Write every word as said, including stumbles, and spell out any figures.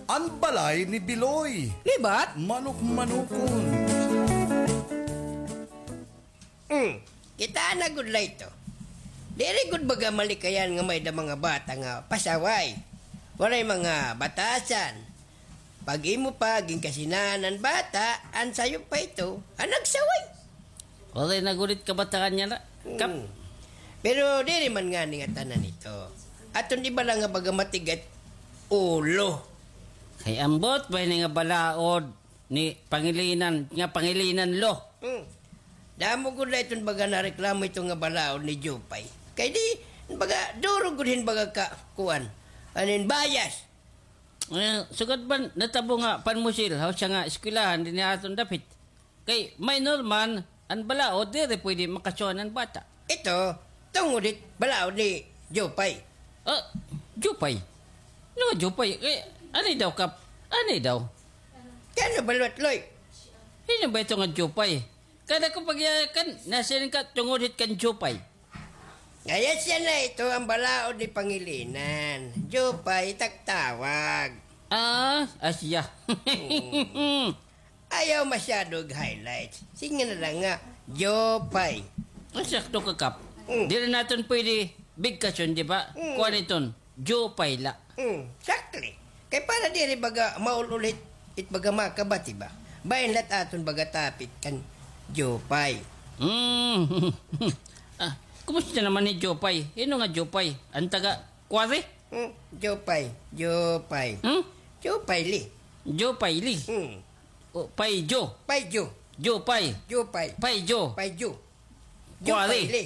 An balay ni Biloy. Libat? Manok-manokon. Hmm. Kita na gud la ito. Diri gud baga malikayan nga may-ada mga bata nga pasaway. Waray mga batasan. Pag imo pa, ginkasinahan an bata, an sayo pa ito, an nagsaway. Waray na gud it kabataan niya na. Kap. Hmm. Pero diri man ngani nga tanan ito. Aton iba la nga baga matigat ulo. Kay ambot ba ini nga balaod ni Pangilinan, nga Pangilinan lo? Hmm. Damo gud la iton baga nareklamo ito nga balaod ni Jupay. Kay di, baga, duro gud hin baga ka, kuan. Anin bias. Eh, sugad man, natabo nga panmusil, ha, usa nga eskwelahan, dinhi ha aton dapit. Kay, minor man, an balaod, diri pwede makasuhan an bata. Ito, tungod hit balaod ni Jupay. Ah, Jupay? Ano nga Jupay? Kay, ani daw, Kap? Ani daw? Kay ano ba, Loloy? Sino ba ito nga Jupay? Kada ko pagyakan, nasiring ka tungod hit kan Jupay. Kaya siya na ito ang balaod ni Pangilinan. Jupay, it ak tawag. Ah, asya. Hmm. Ayaw masyado og highlights. Sige na lang nga, Jupay. Ang sakto ka, Kap. Mm. Diri naton pwede bigkason, di ba? Mm. Kuan iton, Jupay la. Mm, sakto. Kay para diri baga maul-ul it, it baga makabati ba? Bahin la't aton baga topic kan Jupay. Mm. Ah, kumusta naman ni Jupay? Hino nga Jupay? An taga Quarry? Mm, Jupay, Jupay. Hmm? Jupay li. Jupay li. Mm. O, Pay Jo. Pay Jo. Jupay. Jupay. Pay Jo. Pay Jo. Kuwari. Jupay li.